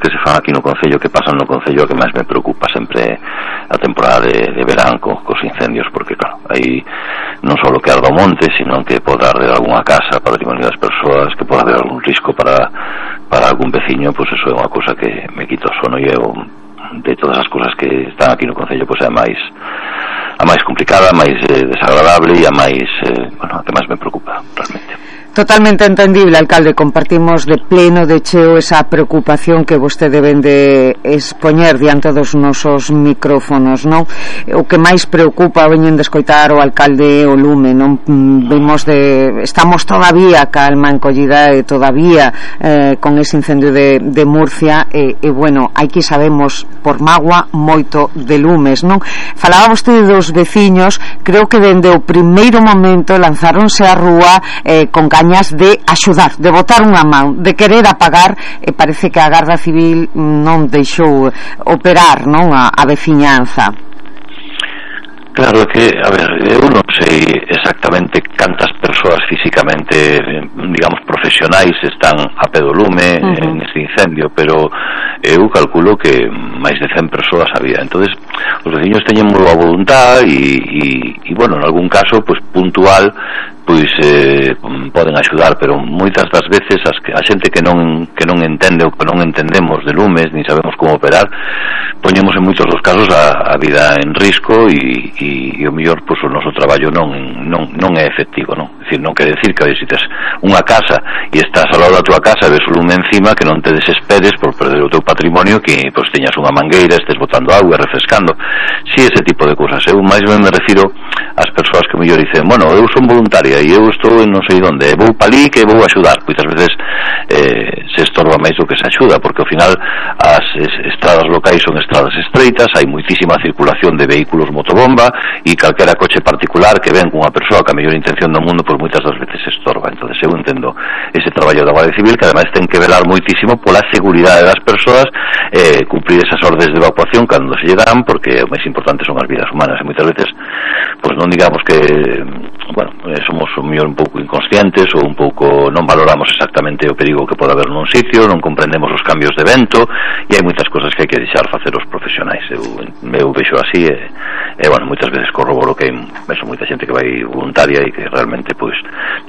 que se fan aquí no Concello, que pasan no Concello, que máis me preocupa sempre a temporada de verán cos incendios, porque claro, aí non só que arda o monte, sino que pode arder algunha casa, patrimonio das persoas, que pode haber algún risco para algún veciño, pois eso é unha cousa que me quita o sono, e eu, de todas as cousas que están aquí no Concello, pois é a máis complicada, a máis desagradable e a máis, a que máis me preocupa realmente. Totalmente entendible, alcalde, compartimos de pleno, de cheo, esa preocupación que vostede ven de expoñer diante dos nosos micrófonos, non? O que máis preocupa, veñen de escoitar o alcalde o lume, non? Estamos todavía calma encollida e todavía con ese incendio de Murcia e bueno, aquí sabemos por magua moito de lumes, non? Falaba vostede dos veciños, creo que dende o primeiro momento lanzáronse á rúa con de axudar, de botar unha man, de querer apagar, e parece que a Garda Civil non deixou operar, non, a veciñanza. Claro que, a ver, eu non sei exactamente cantas persoas físicamente, digamos, profesionais están a pé do lume neste incendio, pero eu calculo que máis de 100 persoas había. Entonces, os veciños teñen moi boa voluntad e bueno, en algún caso, pues puntual, pois poden axudar, pero moitas das veces a xente que non entende ou que non entendemos de lumes, ni sabemos como operar, poñemos en moitos dos casos a vida en risco e o mellor, pois o noso traballo non é efectivo, non? É dicir, non quere decir que se tes unha casa e estás ao lado da tua casa e ves o lume encima, que non te desesperes por perder o teu patrimonio, que pois teñas unha mangueira, estés botando auga, refrescando. Si, ese tipo de cousas. Eu máis ben me refiro ás persoas que mellor dicen, bueno, eu son voluntaria e eu estou en non sei onde, vou palí que vou axudar. Moitas veces se estorba máis do que se axuda, porque ao final as estradas locais son estradas estreitas, hai moitísima circulación de vehículos motobomba e calquera coche particular que ven cunha persoa que a mellor intención do mundo, pois moitas das veces se estorba. Entonces eu entendo ese traballo da Guardia Civil, que ademais ten que velar moitísimo pola seguridade das persoas, cumprir esas ordes de evacuación cando se lle dan, porque o máis importante son as vidas humanas, e moitas veces pois non digamos que, bueno, somos un mellor un pouco inconscientes ou un pouco non valoramos exactamente o perigo que pode haber nun sitio, non comprendemos os cambios de vento, e hai moitas cosas que hai que deixar facer os profesionais. Eu vexo así e bueno, moitas veces corroboro que vexo moita xente que vai voluntaria e que realmente pois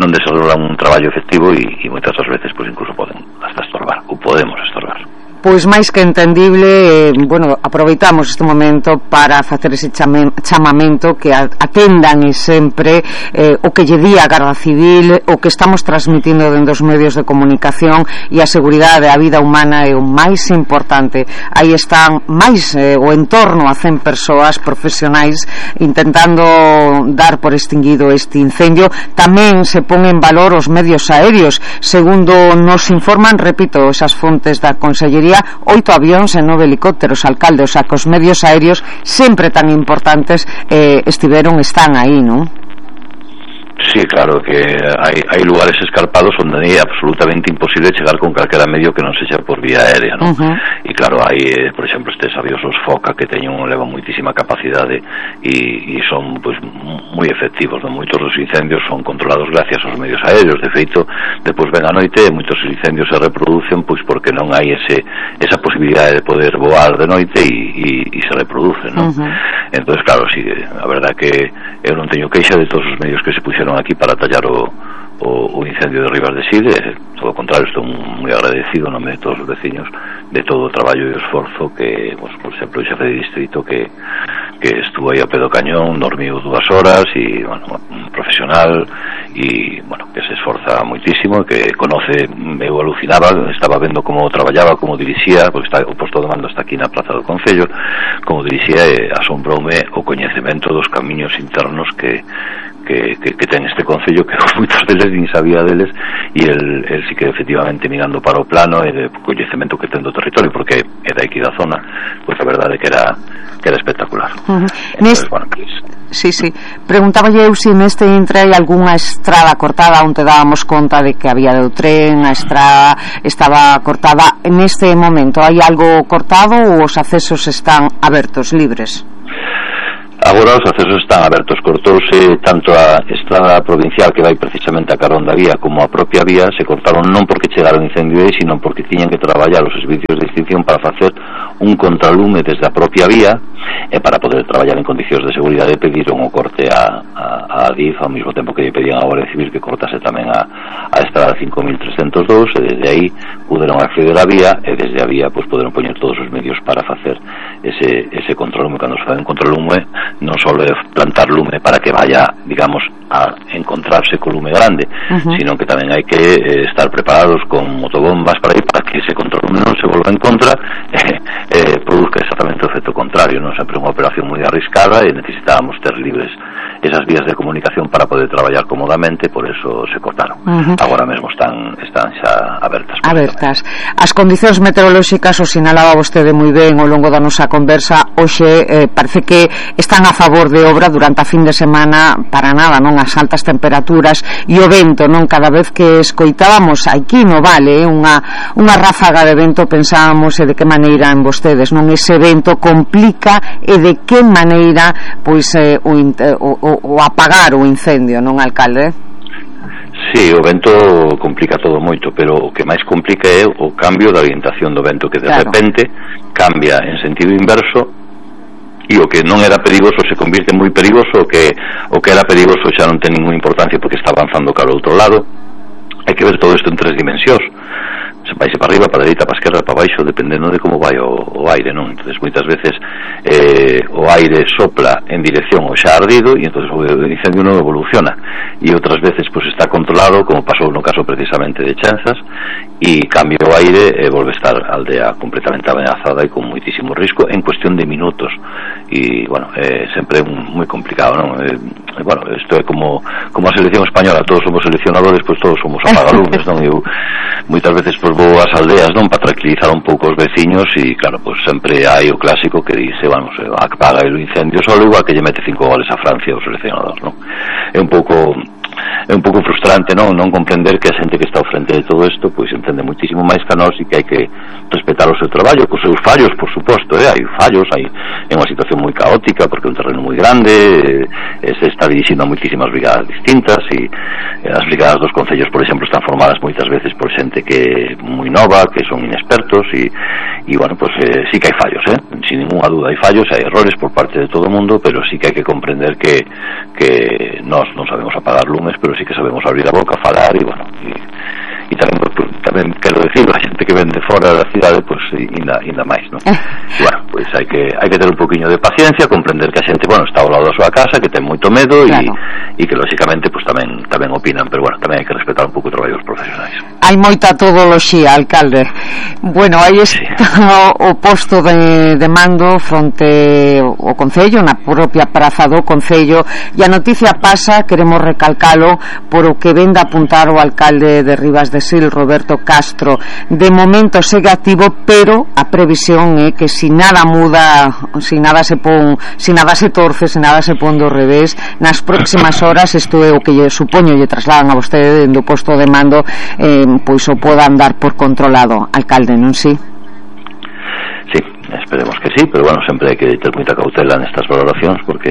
non desarrollan un traballo efectivo e moitas das veces pois incluso poden hasta estorbar ou podemos estorbar. Pois máis que entendible, bueno, aproveitamos este momento para facer ese chamamento que atendan sempre o que lle di a Garda Civil, o que estamos transmitindo dentro dos medios de comunicación, e a seguridade da vida humana é o máis importante. Aí están máis o entorno a 100 persoas profesionais intentando dar por extinguido este incendio. Tamén se pon en valor os medios aéreos, segundo nos informan, repito, esas fontes da Consellería, 8 avións e 9 helicópteros, alcalde, o sea, que os medios aéreos sempre tan importantes están aí, non? Sí, claro que hai lugares escarpados onde é absolutamente imposible chegar con calquera medio que non sexa por vía aérea, non? E claro, hai, por exemplo, estes avións os Foca que levan moitísima capacidade e son pois moi efectivos, non? Moitos dos incendios son controlados gracias aos medios aéreos. De feito, depois ven a noite e moitos incendios se reproducen pois porque non hai esa posibilidade de poder voar de noite e se reproducen, non? Entonces, claro, sí, a verdad que eu non teño queixa de todos os medios que se puxeron aquí para tallar o incendio de Ribas de Sil. Todo o contrario, estou moi agradecido en nome de todos os veciños de todo o traballo e o esforzo que, pues, por exemplo, o xefe de distrito que estuvo aí a pé do cañón, dormiu 2 horas e, bueno, un profesional e, bueno, que se esforza moitísimo, que conoce, eu alucinaba, estaba vendo como traballaba, como dirixía, porque o posto de mando está aquí na Praza do Concello, como dirixía, e asombroume o coñecemento dos camiños internos que ten este Concello, que moitos deles nin sabía deles, e el sí que efectivamente mirando para o plano e de coñecemento que ten do territorio, porque é daqui da zona, pois a verdade que era espectacular. Entonces, bueno, pues... Sí. Preguntáballe eu se neste intre hai algunha estrada cortada, onde dábamos conta de que había do tren, a estrada estaba cortada. Neste momento hai algo cortado ou os accesos están abertos, libres? Agora os accesos están abertos, cortouse tanto a estrada provincial que vai precisamente a carón da vía como a propia vía, se cortaron non porque chegara o incendio aí, sino porque tiñan que traballar os servicios de extinción para facer un contralume desde a propia vía, e para poder traballar en condicións de seguridade pediron o corte a DIF, ao mesmo tempo que lle pedían a Guardia Civil que cortase tamén a estrada 5302, e desde aí puderon acceder á vía, e desde a vía pois poderon poñer todos os medios para facer ese contralume. Cando se fai un contralume non só é plantar lume para que vaya, digamos, a encontrarse co lume grande, sino que tamén hai que estar preparados con motobombas para que ese contralume non se volva en contra produzca exactamente o efecto contrario, non? Sempre unha operación moi arriscada e necesitábamos ter libres esas vías de comunicación para poder traballar cómodamente, por eso se cortaron. Agora mesmo están xa abertas. As condicións meteorolóxicas, o sinalaba vostede moi ben ao longo da nosa conversa, hoxe parece que están a favor de obra durante a fin de semana, para nada, non? As altas temperaturas e o vento, non? Cada vez que escoitábamos aquí no Vale unha ráfaga de vento, pensábamos de que maneira en vostedes, non? Ese vento complica e de que maneira pois o apagar o incendio, non, alcalde? Sí, o vento complica todo moito, pero o que máis complica é o cambio da orientación do vento, que de repente cambia en sentido inverso, e o que non era perigoso se convirte moi perigoso, o que era perigoso xa non ten ninguna importancia porque está avanzando cara ao outro lado. Hai que ver todo isto en 3 dimensións, se vaise para arriba, para a dereita, para a esquerda, para baixo, dependendo de como vai o aire, non? Entonces moitas veces o aire sopla en dirección ao xa ardido e entonces o incendio non evoluciona, e outras veces pues está controlado, como pasou no caso precisamente de Chenzas, e cambia o aire e volve a estar a aldea completamente amenazada e con moitísimo risco en cuestión de minutos. E bueno, sempre moi complicado, non? Bueno, isto é como a selección española, todos somos seleccionadores, pues todos somos apagalumes, non? Eu moitas veces pues vou ás aldeas, non, para tranquilizar un pouco os veciños, e claro, pues sempre hai o clásico que dice, vamos, apaga o incendio solo, igual que lle mete 5 goles a Francia o seleccionador, non? É un pouco frustrante, non comprender que a xente que está ao frente de todo isto pois entende moitísimo máis que a nós, e que hai que respetar o seu traballo, cos seus fallos, por suposto, hai fallos, é unha situación moi caótica porque é un terreno moi grande, se está dirixindo a moitísimas brigadas distintas, e as brigadas dos concellos, por exemplo, están formadas moitas veces por xente que é moi nova, que son inexpertos, e bueno, pues sí que hai fallos, sin ninguna duda hai fallos, hai errores por parte de todo o mundo, pero sí que hai que comprender que nós non sabemos apagar lumes, pero sí que sabemos abrir a boca, falar, e bueno, e tamén quero decir, a xente que ven de fora da cidade, pues ainda máis, non? E bueno, pues hai que ter un poquinho de paciencia, comprender que a xente, bueno, está ao lado da súa casa, que ten moito medo, e que lógicamente pues tamén opinan, pero bueno, tamén hai que respetar un pouco o traballo dos profesionais. Hai moita todoloxía, alcalde. Bueno, aí está o posto de mando fronte ao Concello, na propia praza do Concello, e a noticia pasa, queremos recalcalo, por o que ven de apuntar o alcalde de Rivas de Sil, Roberto Castro. De momento segue activo, pero a previsión é que si nada muda, si nada se torce, si nada se pon do revés, nas próximas horas, isto é o que lle supoño lle trasladan a vostede do posto de mando, pois o podan dar por controlado, alcalde, non si? Sí, esperemos que sí, pero bueno, sempre hai que ter moita cautela nestas valoracións, porque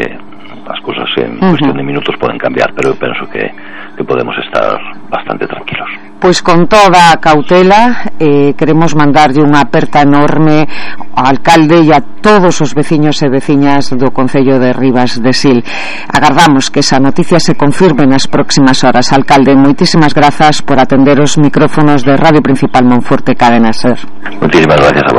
as cousas en cuestión de minutos poden cambiar, pero eu penso que podemos estar bastante tranquilos. Pois con toda a cautela, queremos mandarlle unha aperta enorme ao alcalde e a todos os veciños e veciñas do Concello de Rivas de Sil. Agardamos que esa noticia se confirme nas próximas horas. Alcalde, moitísimas grazas por atender os micrófonos de Radio Principal Monforte Cadena Ser. Moitísimas gracias a